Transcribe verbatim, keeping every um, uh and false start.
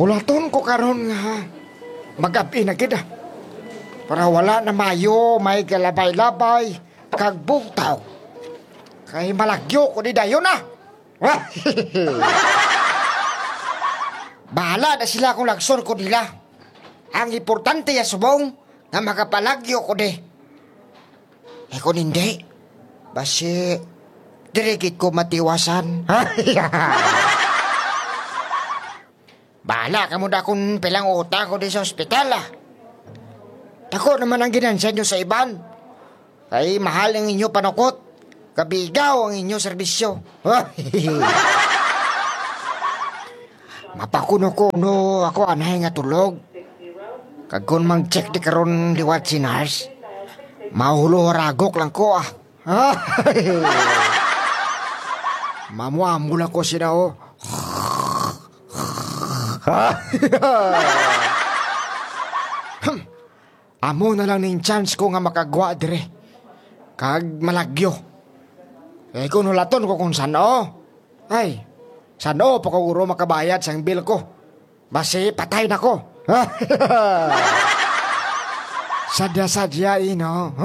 Pulaton ko karon nga mag-abi na gid, ah. Para wala na maayo may galabay-labay kag bugtaw. Kay malagyo ko di dayon, ah. Bahala na sila kung lagson ko nila. Ang importante ya subong nga makapalagyo ko di. Eh, kung hindi, basi, diri gid ko matiwasan. Bahala kamo da kung pilang utang ko di sa ospital, ah. Dako naman ang ginansya nyo sa iban. Kay mahal ang inyo panukot, kabigaw ang inyo serbisyo. Mapakuno-kuno ako anay nga tulog. Kag kung mag-check di karon liwat si nurse, mahulo ragok lang ko, ah. Mamuamo lang ko sila, oh. Hmm. Amo na lang ning chance ko nga makagwa dire. Kag malagyo. Eh, kung hulaton ko kung san-o, ay, san-o pa ko guro makabayad sang bill ko? Basi patay na ko. Sadya-sadya, ino.